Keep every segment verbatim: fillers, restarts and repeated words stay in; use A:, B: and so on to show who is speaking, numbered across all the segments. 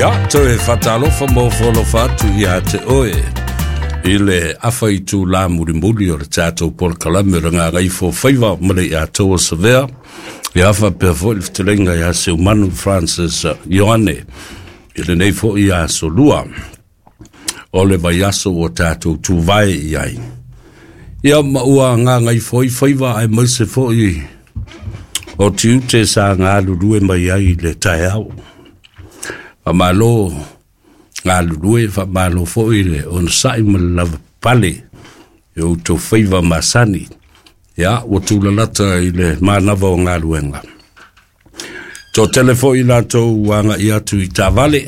A: Ia, toe faatalofa ma ofo atu ia te oe i le afa i tūlā mulimuli o le tatou polokalame o le Gagaifo Faiva ma le Iatoa Savea. Ia faapea foi le fetalaiga ia Seumanu Francis Ioane i lenei foi aso lua o le vaiaso ua tatou tuvae i ai. Ia ma ua gagaifo ai faiva aemaise foi o tiute sa galulue mai ai i le taeao. Faamalo galulue, faamalo foi le onosai ma le lavapapale i o outou faiva masani. Ia, ua tulalata i le manava o galuega. Toatele foi latou agai atu i taavale,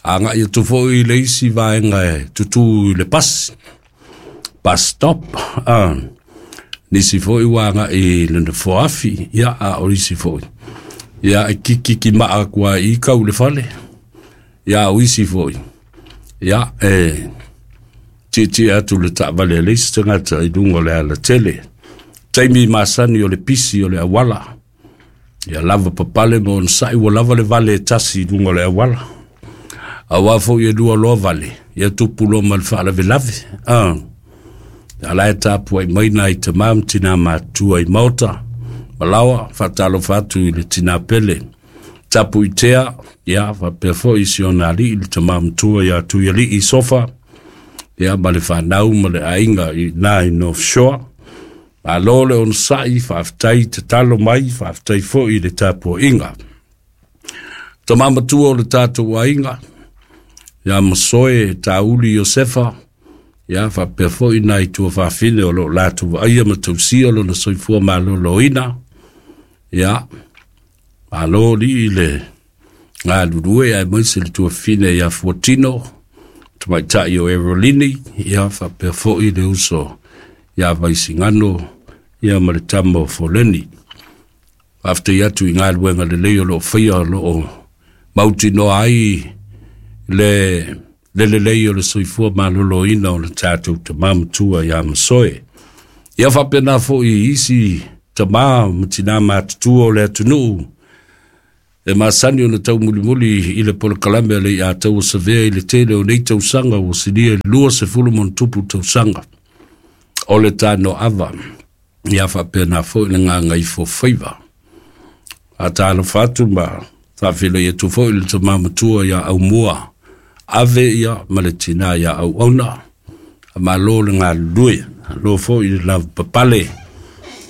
A: agai atu foi i le isi vaega e tutū i le pasi, bus stop, ah, nisi foi ua agai i le nofoafi, ia, a o isi foi, ia, e kikikimaa atu lava i kau le fale, ia, o isi foi, ia, e tietie atu le taavale a le isi tagata i luga o le alatele. Taimi masani o le pisi o le auala, ia lava papale ma onosai ua lava le vale e tasi i luga o le auala. Auā foi e lua loa vale, ia tupu loa ma le faalavelave. Ah. A la e tapuai mai nai tamā ma tinā matutua i maota. Malaoa, faatalofa atu i le tinā pele tapu i tea, ia, faapea foi si ona alii le tamā matua ia Tuialii Sofa, ia, ma le fanau ma le aiga i na i North Shore. Malo le onosai, faafetai tatalo mai, faafetai foi i le tapuaiga. Tamā matua o le tatou aiga, ia Masoe Tauli Iosefa, ia faapea foi nai tuafafine o lo o latou vaaia ma tausia lona soifua maloloina. Ia, malo lii le galulue aemaise le tuafafine ia Fuatino, tamaitai o Erolini, ia faapea foi le uso ia Vaisigano, ia ma le tama o Foleni. Faafetai atu i galuega lelei o lo o faia o lo o mautinoa ai le le lelei o le soifua maloloina o le tatou tamā matua ia Masoe. Ia faapena foi i isi tamā ma tinā matutua o le atunuu e masani ona taumulimuli i le polokalame a le Iataua Savea i le tele o nei tausaga ua silia i le luasefulu ma ona tupu tausaga o le tanoava. Ia faapena foi le Gagaifo Faiva. Faatalofa atu ma faafeiloai atu foi i le tamā matua ia Aumua Ave ia ma le tinā ia Auauna. Malo le galulue, malo foi le lavapapale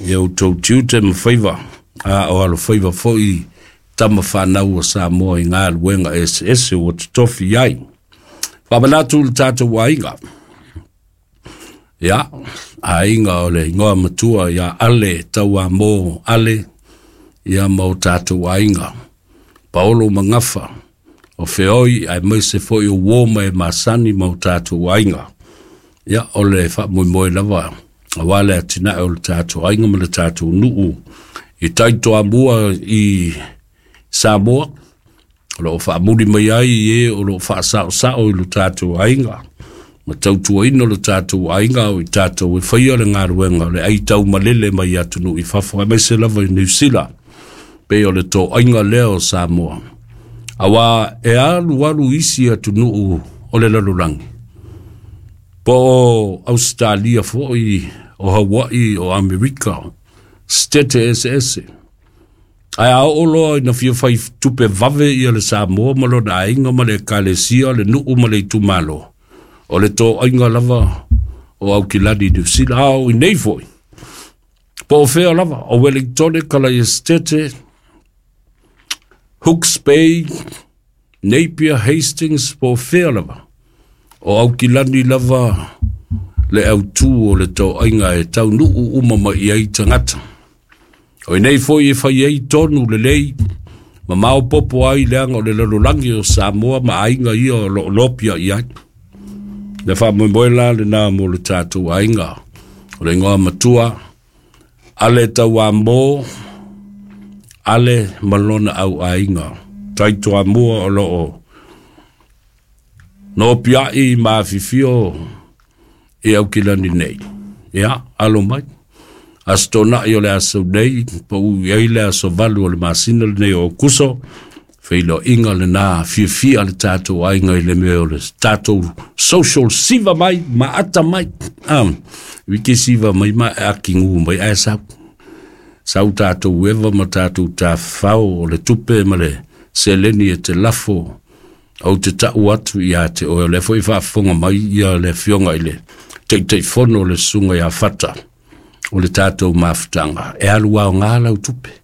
A: i outou tiute ma faiva, a o alofaiva foi tama fanau o Samoa i galuega eseese ua totofi ai. Faamanatu le tatou aiga. Ia, aiga o le igoa matua ia Ale Tauamo Ale, ia ma o tatou aiga. Paolo Magafa, o Feoi, aemaise foi o uo ma e masani ma o tatou aiga. Ia, o le faamoemoe lava, auā le atinae o le tatou aiga ma le tatou nuu i taitoamua i Samoa, o lo o faamuli mai ai i e o lo o faasaosao i lo tatou aiga ma tautuaina lo tatou aiga o i tatou e faia le galuega o le aitaumalele mai atunuu i fafo aemaise lava i Niu Sila pei o le toaiga lea o Samoa. Auā e alualu isi atunuu o le lalolagi, po o Ausetalia foi, o Hawaii, o Amerika, Setete eseese. Ae a oo loa ina fia fai tupe vave ia le Samoa ma lona aiga ma le ekalesia, le nuu ma le itumalo, o le toaiga lava o Aukilani Niu Sila, a o inei foi. Po o fea lava, o Wellingtone, Kalaiasetete, Hooks Bay, Napier, Hastings, po o fea lava, o Aukilani lava le autū o le toaiga e taunuu uma mai i ai tagata. O inei foi e fai ai tonu lelei ma maopoopo ai leaga o le lalolagi o Samoa ma aiga ia o lo o lopia i ai. Le faamoemoe la lenā mo le tatou aiga. O le igoa matua, Ale Tauamo, Ale ma lona au aiga. Taitoamua o lo o nopiai ma afifio i Aukilani nei. Ia, alo mai. Aso Toonai o le aso nei, pau i ai le aso valu o le masina lenei o Okuso, Feiloaiga lenā fiafia le tatou aiga i le mea o le tatou social siva mai ma ata mai. Um, wiki siva mai ma e akigu mai ae sau. Sau tatou eva ma tatou tafafao o le tupe ma le seleni e te lafo ou te ta'u atu iā te oe o lea foi faafofoga mai ia le afioga i le Taitaifono o le susuga iā Fata o le tatou mafutaga e alu aogā lau tupe.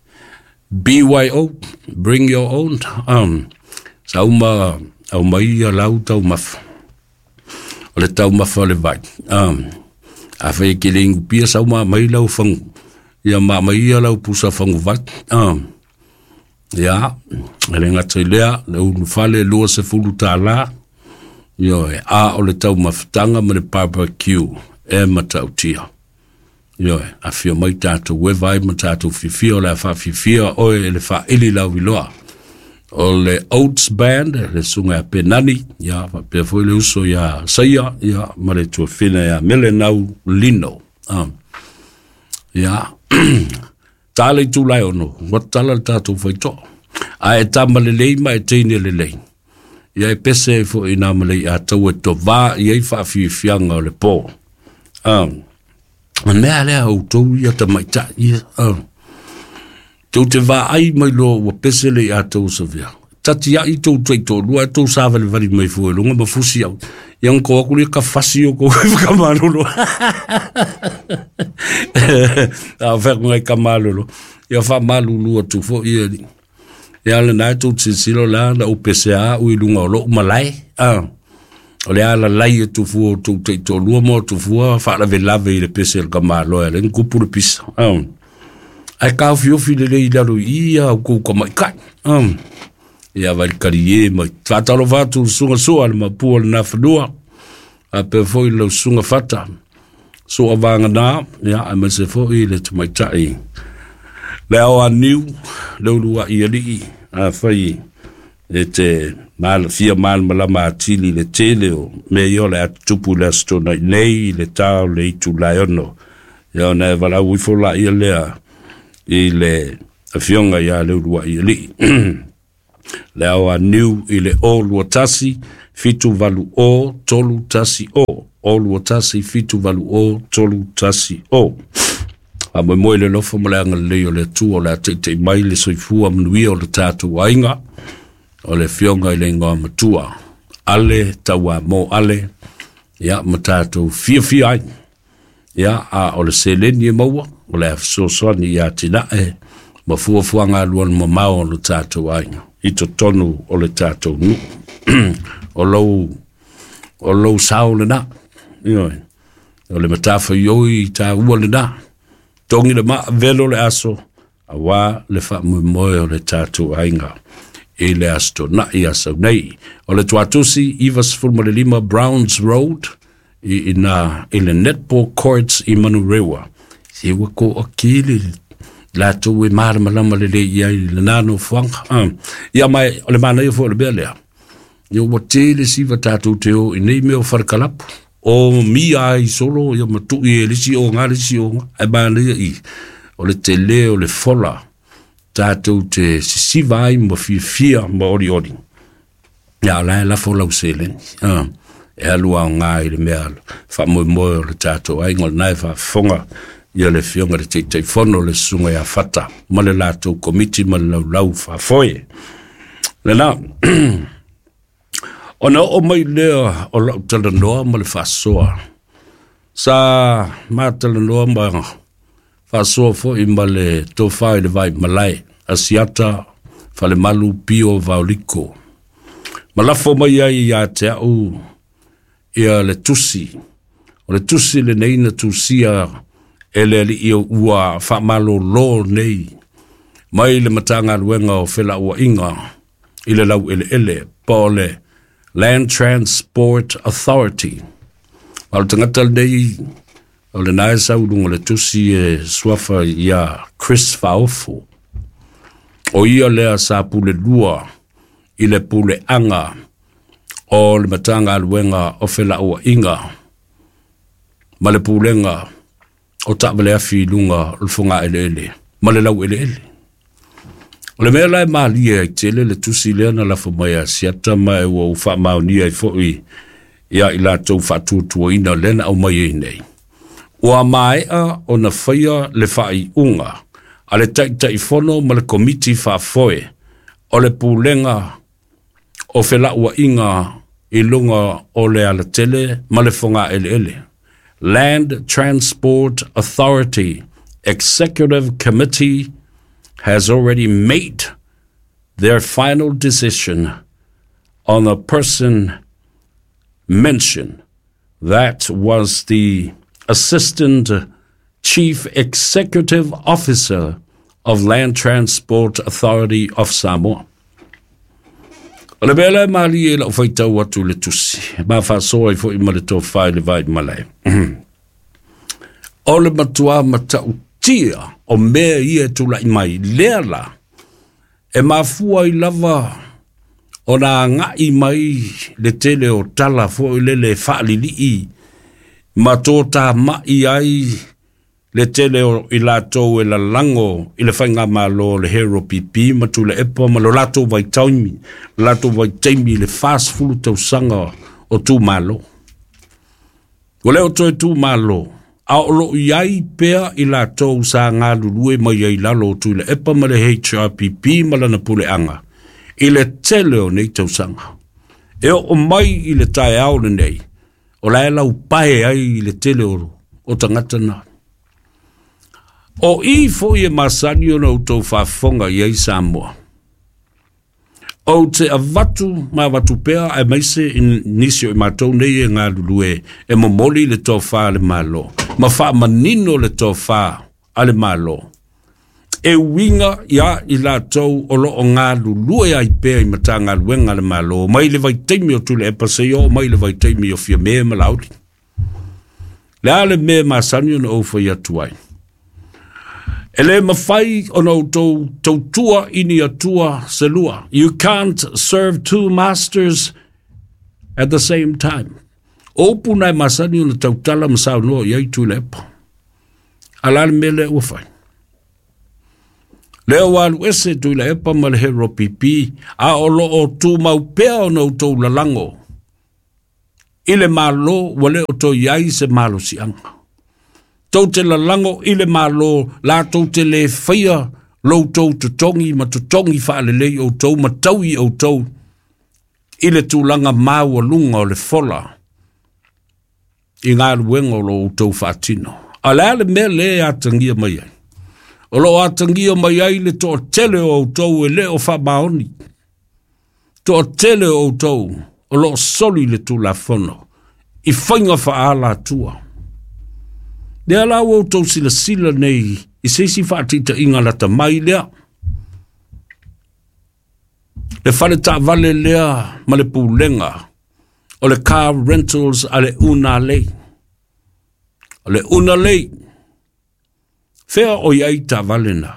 A: B Y O, bring your own. Um, sauma aumai ia lau taumafa. O le taumafa o le vai. Um, afai e ke le ingupia sauma mai lau fangu. Ia ma mai ia lau pusa fangu vai. Um, ia, e le gata i lea, le ulufale lua sefulu tālā. Ioe, a o le taumafataga ma le barbecue e matautia. Ioe, afio mai tatou eva ai ma tatou fiafia o le a faafiafia oe e le faaili lauiloa. O le Oats Band, le susuga ia Penani, ia faapea foi le uso ia Saia, ia ma le tuafina ia Melenau Lino. Um, ia, tā le itulai ono, ua tala le tatou faitoa. A e tama lelei ma e teine lelei. Ia e pese ai foi nā malei a tau e tovā i ai faafiafiaga o le pō. Um, mea lea outou ia tamaitai ia. Um, tou te vaai mai loa ua pese le ia tou savea. Tati ai tou taitoalua e tou savalivali mai fua i luga ma fusi au. Ia ngako aku lia ka fasi o kou whakamalolo. A whea ngai ka malolo. Ia wha malulu atu fo ia ni. Ia le nai tou silasila la na upese a ui lunga o lou malae. Ah. O le ala lai e tufua o tou taitoalua mo tufua faalavelave i le pese le kamaloa le ngupu le pisa. Ah. Ai kaofiofi lelei i lalo i ia au kou kamaikai. Ah. Ia vai kari e mai. Whātalofa atu le susuga soa le mapua le nafanua. A pea foi lau susuga Fata. Soa vāngana, ia, aemaise foi le tamaitai. Le ao a niu, le ulua i alii, a whai e te mal, fia malamalama atili le tele o me ia o le atutupu le aso tonai nei i le tā o le itu laeono. Ia ona e valau ifo la ia lea i le afioga ia le ulua i alii. Le ao a niu i le o lua tasi, fitu valu o, tolu tasi o. O lua tasi, fitu valu o, tolu tasi o. A moe moe le lofo ma le agalelei o le Atua o le a teitei mai le soifua manuia o le tatou aiga o le afioga i le igoa matua. Ale taua mo ale, ia ma tatou fiafia ai. Ia a o le seleni e maua, o le a fesoasoani ia tinae, ma fuafuaga alualu mamao o le tatou aiga. I totonu o le tatou nuu. O lou, o lou sao lenā. Ioe. O le matafaioi i tāua lenā. Tongi le maa velo le aso, auā le faamoemoe o le tatou aiga. I le aso tonai asau nei. O le tuatusi, iwa sefulu ma le lima Browns Road, i ina i le netball courts i Manurewa. Se ua ko akili latou e malamalama lelei i ai i lenā nofoaga. Um, ia mai o le manaia foi o le mea lea. Ia ua tele siva tatou te o i nei mea o farekalapu. O mia ai solo ia matui e lisi o ngā lisi o ngā. Ai manaia i o le tele o le fola tatou te sisiva ai ma fiafia ma olioli. Ia o la e lafo lau seleni. Um, e alu aogā i le mea faamoemoe o le tatou aiga o lenā e faafofoga ia le afioga le Taitaifono le susuga ia Fata ma le latou komiti ma le laulau faafoe. Lenā, ona oo mai lea o lau talanoa ma le faasoa. Sa matalanoa ma faasoa foi ma le tofā i le vai malae, Asiata Falemalu Pio Vaoliko. Ma lafo mai ai ia te au ia le tusi. O le tusi lenei na tusia e le alii o ua faamalōlō nei mai le Matagaluega o Felauaiga i le laueleele po o le Land Transport Authority. Ma o le tagata lenei o lenā e sau i luga o le tusi e suafa ia Chris Faofo. O ia lea sa pulelua i le puleaga o le Matagaluega o Felauaiga ma le pulega o taavale afi i luga o le fogaeleele ma le laueleele. O le mea la e malie ai tele le tusi lea na lafo mai a Asiata ma e ua ou faamaonia ai foi ia i latou faatuatuaina lea na aumai ai nei. Ua maea ona faia le faaiuga a le Taitaifono ma le Komiti Faafoe o le Pulega o Felauaiga i luga o le alatele ma le fogaeleele. Land Transport Authority Executive Committee has already made their final decision on the person mentioned. That was the Assistant Chief Executive Officer of Land Transport Authority of Samoa. O le mea la e malie i lau faitau atu le tusi, ma faasoa ai foi ma le tofa i le vai malae. O le matua matautia o mea ia e tulai mai, lea la, e mafua ai lava ona agai mai le tele o tala foi lele e faalilii ma totamai ai le tele o i latou e lalago i le faigamalo o le Hero P P ma Tuilaepa ma lo latou vaitaimi, latou vaitaimi i le fasefulu tausaga o tumalo. Ua le o toe tumalo, a o loo i ai pea i latou sa galulue mai ai lalo o Tuilaepa ma le H R P P ma lana puleaga i le tele o nei tausaga. E oo mai i le taeao lenei, o la e laupae ai i le tele o, o tagata na. O i foi e masani ona outou faafofoga i ai Samoa. Ou te avatu ma avatu pea aemaise i nisi o i matou nei e galulue e momoli le tofa a le Malo, ma faamanino le tofa a le Malo. E uiga ia i latou o loo galulue ai pea i Matagaluega a le Malo, mai le vaitaimi o Tuilaepa seia oo mai le vaitaimi o Fiame ma Laauli. Le a le mea masani ona ou fai atu ai. E le mafai ona outou tautua i ni atua se lua. You can't serve two masters at the same time. O upu na e masani ona tautala ma saunoa i ai Tuilaepa. A la le mea lea ua fai. Lea ua alu ese Tuilaepa ma le Hero P P, a o loo tumau pea ona outou lalago i le Malo ua le o toe i ai se malosiaga. Tou te lalago i le Malo, latou te le faia loutou totogi ma totogi faalelei outou ma taui outou i le tulaga maualuga o le fola i galuega o lo outou faatino. A le a le mea lea e atagia mai ai? O loo atagia mai ai le toatele o outou e le o faamaoni. Toatele o outou o loo soli le Tulafono i faiga faaala atua. Lea la ua outou silasila nei i se isi faataitaiga lata mai lea. Le fale taavale lea ma le pulega o le car rentals a le Unalei. O le Unalei, fea o i ai taavale na.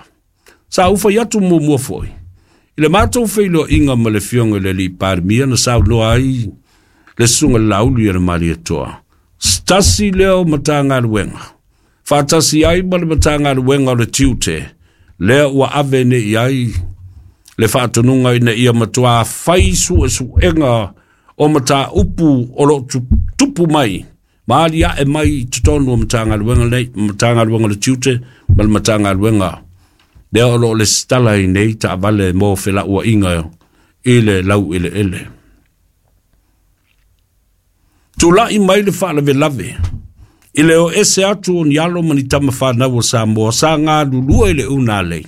A: Sa ufai atu muamua foi. I le matou feiloaiga ma le afioga i le alii Palemia na saunoa ai le susuga Laauli a le Malietoa. Tasi lea o Matagaluega. Faatasi ai ma le Matagaluega o le Tiute, lea ua ave nei i ai le faatonuga ina ia matua fai suesuega o mataupu o loo tupu mai, ma aliae mai i totonu o Matagaluega nei, Matagaluega o le Tiute ma le Matagaluega lea o loo lesitala ai nei taavale mo felauaiga i le laueleele. Tulai mai le faalavelave i le o ese atu o ni alo ma ni tama whanau o Samoa sa galulue i le Unalei.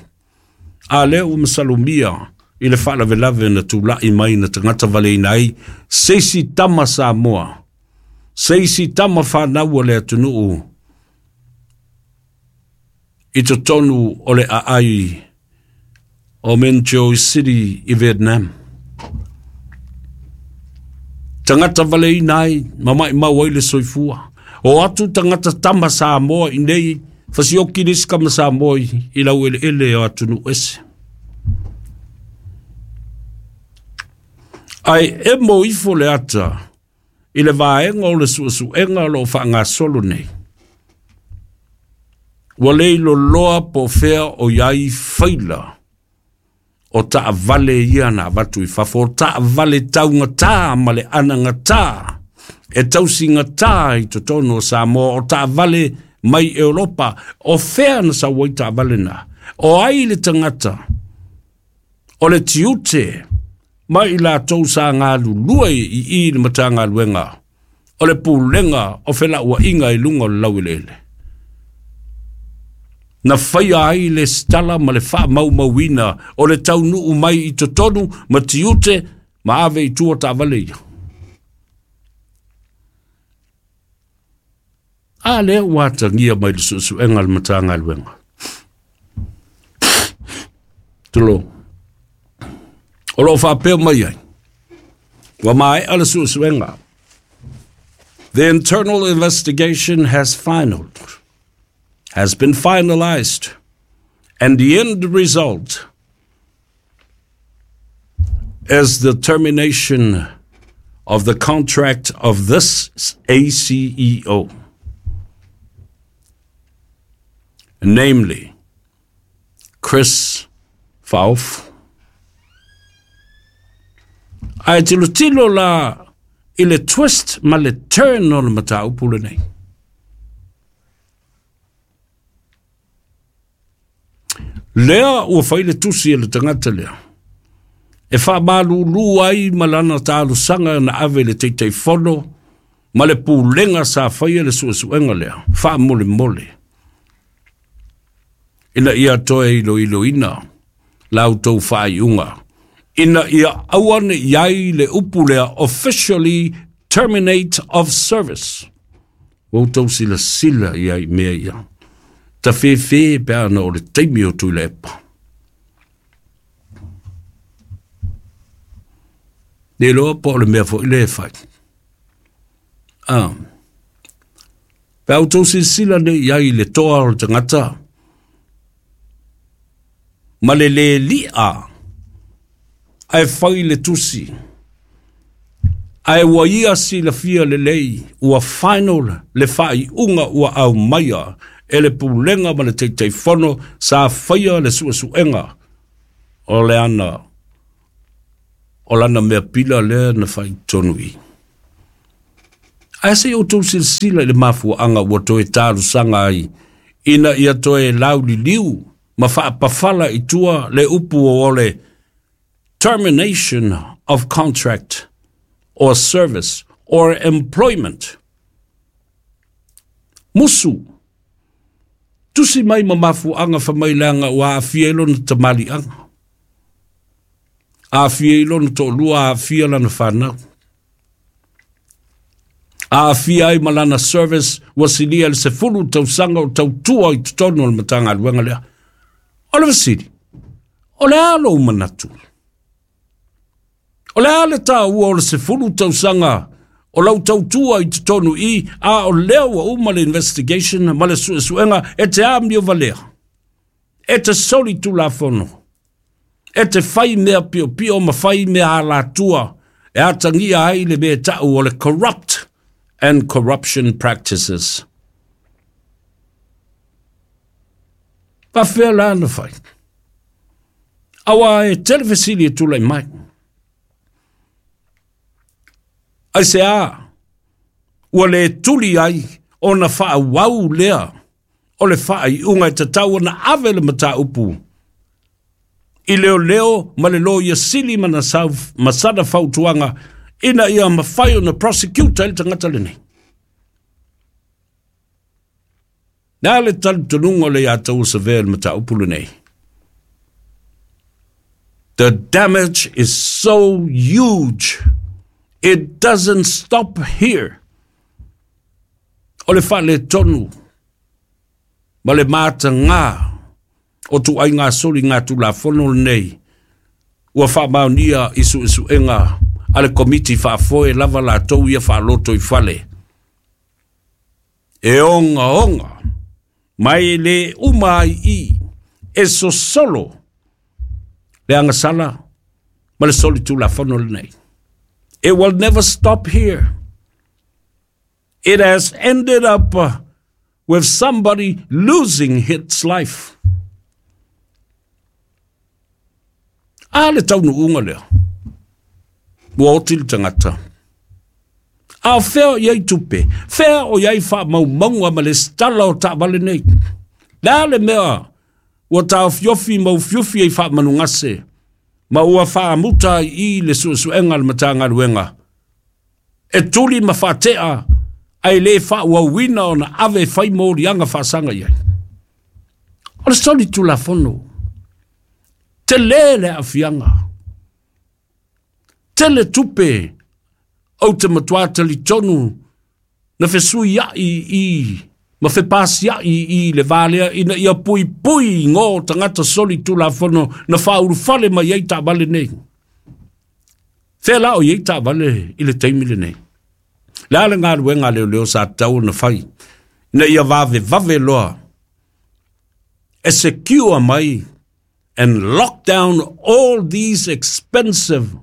A: A lea ua masalomia i le faalavelave na tulai mai na tagata valeina ai se isi tama Samoa, se isi tama whanau o le atunuu i totonu o le aai o Menjo City i Vietnam. Tagata valeina ai, ma maimau ai le soifua. O atu tagata tama Samoa i nei, fasioki le isi kama Samoa i laueleele o atunuu ese. Ae emo ifo le ata i le vaega o le suesuega o loo faagasolo nei. Ua le iloloa po o fea o i ai faila O taavale ia na avatu i fafo, o taavale taugatā ma le anagatā e tausigatā i totonu o Samoa, o taavale mai Europa, o fea na sau ai taavale na, o ai le tagata o le tiute mai i latou sa galulue i i le Matagaluega o le Pulega o Felauaiga i luga o le laueleele. Na faia ai le stala ma le faamaumauina o le taunuu mai i totonu ma tiute ma ave i tua taavale ia. A lea ua atagia mai le suesuega a le Matagaluega. Tulou. O loo faapea mai ai, ua maea le suesuega. The internal investigation has final, has been finalized, and the end result is the termination of the contract of this A C E O, namely Chris Fauf. Ae tilotilo la i le twist ma le turn o le mataupu lenei. Lea ua fai le tusi e le tagata lea e faamalulu ai ma lana talosaga na ave le Taitaifono ma le pulega sa faia le suesuega lea faamolemole ina ia toe iloiloina la outou faaiuga ina ia aua ne i ai le upu lea officially terminate of service. Ua outou silasila ia i mea ia. Tafefe pe ana o le taimi o Tuilaepa. Le iloa po o le mea foi le e fai. Ah. Pe a outou silasila nei i ai i le toa o le tagata ma le le li'a ae fai le tusi. Ae ua ia silafia lelei ua final le faaiuga ua aumaia e le pulega ma le Taitaifono sa faia le suesuega o le ana o lana mea pila lea na faitonu i. Ae se i outou silasila i le mafuaaga ua toe talosaga ai ina ia toe lauliliu ma faapafala i tua le upu o le termination of contract or service or employment. Musu, tusi mai ma mafuaaga famaileaga ua aafia ai lona tamaliiaga, aafia ai lona toalua, aafia lana fanau, aafia ai ma lana service ua silia le sefulu tausaga o tautua i totonu o le Matagaluega lea. O le fesili, o le a lou manatu? O le a le taua o le sefulu tausaga o lau tautua i totonu i, a o lea ua uma le investigation ma le suesuega e te amio valea, e te soli tulafono, e te fai mea piopio ma fai mea alatua e atagia ai le mea tau o le corrupt and corruption practices. Faafea la na fai. Aua e tele fesili e tulai mai. Ai se a, ua le tuli ai ona faauau lea o le faaiuga e tatau ona ave le mataupu i leoleo ma le loia sili ma na sau, ma sana fautuaga ina ia mafai ona prosecute ai le tagata lenei. Na le talitonuga o le ia tau savea le mataupu lenei. The damage is so huge. It doesn't stop here. O le faaletonu ma le matagā o tuaiga soli ngā tulafono lenei ua faamaonia i suesuega a le komiti faafoe lava latou ia faaloto i fale. E ogaoga mai le uma ai i e sosolo le agasala ma le soli tulafono lenei. It will never stop here. It has ended up uh, with somebody losing his life. A le taunuuga lea, ua oti le tagata. A o fea o i ai tupe, fea o i ai faamaumauga ma le stala o taavale nei. Le a le mea ua taofiofi ma ufiufi ai faamanugase, ma ua faamuta ai i le suesuega a le Matagaluega, e tuli ma faatea ae le faauauina ona ave e fai moliaga faasaga i ai. O le soli tulafono, tele le aafiaga, tele tupe ou te matua talitonu na fesuiai i ma fepasiai i le valea ina ia puipui ngo tagata soli tulafono na faaulufale mai ai taavale nei. Fea la o i ai taavale i le taimi lenei. Le a le galuega a leoleo sa tatau ona fai, ina ia vavevave loa, e secure mai and lock down all these expensive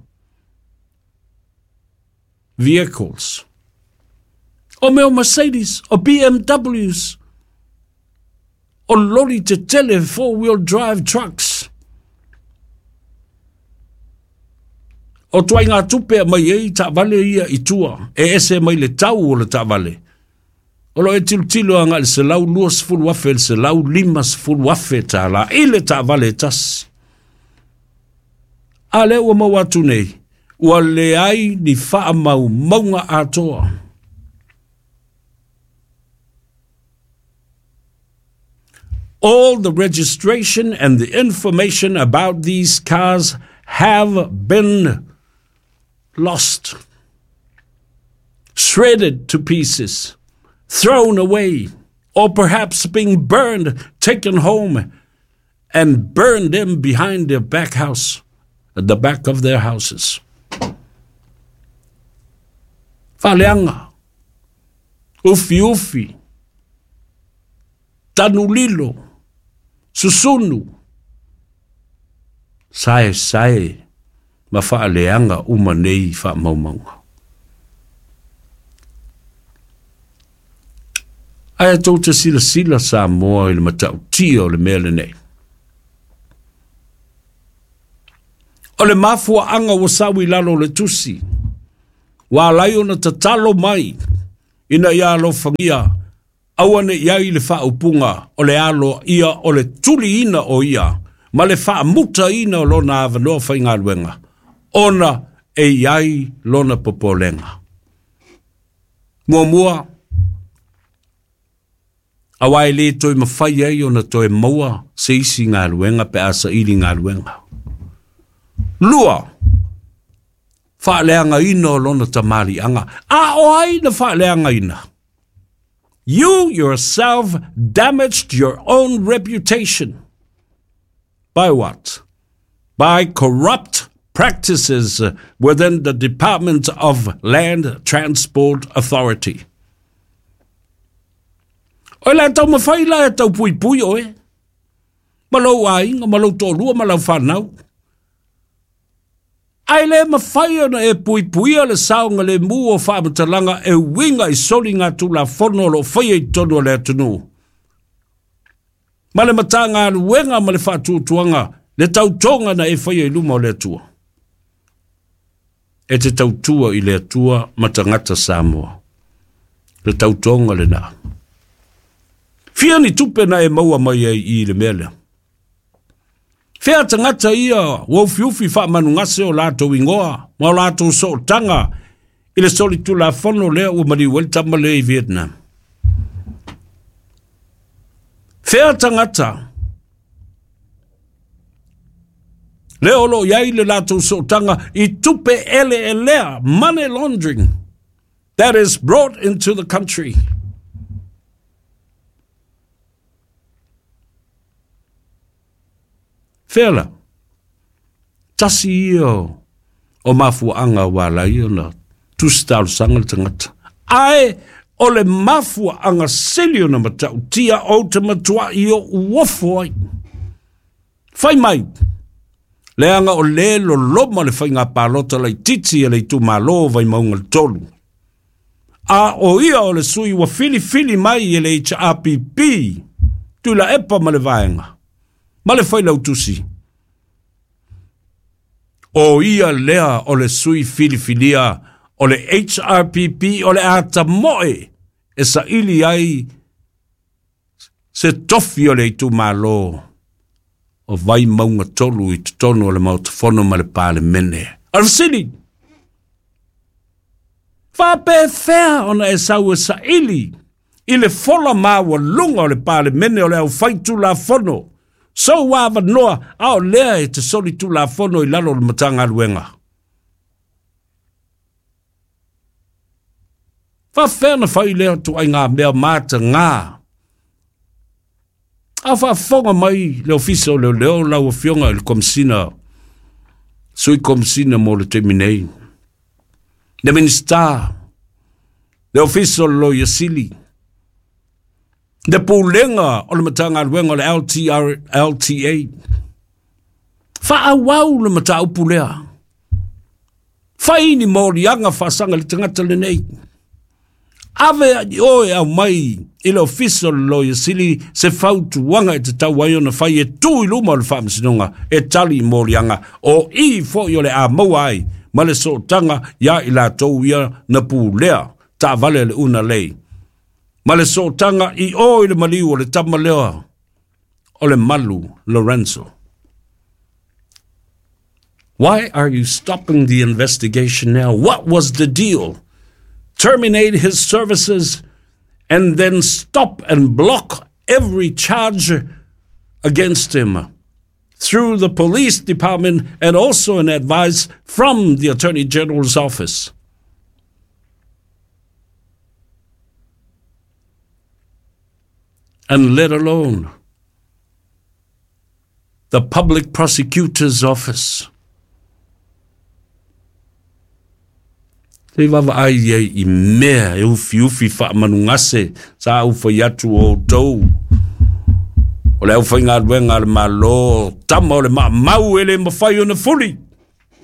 A: vehicles. O mea o Mercedes, o B M Ws, o loli tetele four-wheel drive trucks. O tuaiga tupe mai ai taavale ia i tua, e ese mai le tau o le taavale. O lo e tilotilo agai le selau luasefulu afe le selau limasefulu afe tālā i le taavale e tasi. A lea ua maua atu nei, ua leai ni faamaumauga atoa. All the registration and the information about these cars have been lost, shredded to pieces, thrown away, or perhaps being burned, taken home, and burned them behind their back house, at the back of their houses. Faaleaga, ufi ufi, tanulilo, susunu, sae sae, ma faaleaga uma nei faamaumauga. Ae tou te silasila Samoa i le matautia o le mea lenei. O le mafuaanga ua sau i lalo o le tusi, ua alai ona tatalo mai ina ia alofagia aua ne i ai le faaupuga o le alo ia o le tuliina o ia ma le faamutaina o lona avanoa faigaluega, ona e i ai lona popolega. Muamua, aua e le toe mafai ai ona toe maua se isi galuega pe a saili galuega. Lua, faaleagaina o lona tamaliiaga. A o ai na faaleagaina? You yourself damaged your own reputation. By what? By corrupt practices within the Department of Land Transport Authority. O le tau mawhai la e tau pui pui oe. Ma lau aiga, ma lau to'alua, ma lau whanau. Ai le mawhai ona e pui puia le saonga le mu o whaamatalaga e winga i soli ngā tulafono o lo whaia i tonu o le atunuu. Ma le matagaluega ma le faatuatuaga le tautoga na e faia i luma o le Atua. E te tautua i le Atua ma tagata Samoa. Le tautoga lenā. Fia ni tupe na e maua mai ai i le mea lea. Fea tagata ia ua ufiufi faamanugase o latou igoa ma o latou sootaga i le solitulafono lea ua maliu ai le tama lea i Vietnam. Fea tagata lea o loo i ai le latou sootaga i tupe eleelea, money laundering that is brought into the country. Fea la, tasi ia o mafuaanga ua alai ona tusi talosaga le tagata. Ae o le mafuaanga sili ona matautia ou te matuai o uofo ai. Fai mai, leaga o le loloma le faiga palota laitiiti e le itumalo o Vaimauga le tolu. A o ia o le sui ua filifili mai e le H R P P, Tuilaepa ma le vaega, ma le failautusi. O ia lea o le sui filifilia o le H R P P o le atamoe e saili ai se tofi o le itumalo o Vaimauga tolu i totonu o le Maota Fono ma le Palemene. O le fesili, faapefea ona e sau e saili i le fola maualuga o le Palemene o le aufaitulafono, sou avanoa a o lea e te solitulafono i lalo o le Matagaluega? Faafefea na fai lea tuaiga mea mataga? A faafofoga mai le ofisa o leoleo lau afioga i le Komisina, sui Komisina mo le taimi nei, le Minisita, le ofisa o le Loia Sili, le pulega o le Matagaluega o le L T R, L T A. Faaauau le mataupu lea. Fai ni moliaga faasaga i le tagata lenei. Ave ai oe au mai i le ofisa o le Loia Sili se fautuaga e tatau ai ona fai e tu i luma o le faamasinoga e tali i moliaga o i foi o le a maua ai ma le sootaga ia i latou ia na pulea taavale le una lei. Ma le sootaga i o i le maliu o le tama lea o le Malu Lorenzo. Why are you stopping the investigation now? What was the deal? Terminate his services and then stop and block every charge against him through the police department and also an advice from the Attorney General's office. And let alone the public prosecutor's office. Te wawa ai ai i mea e ufi ufi wha manungase sa ufa iatu o tau. O le au whainga ruenga le malo, tama o le ma mau ele mawhai o na fuli.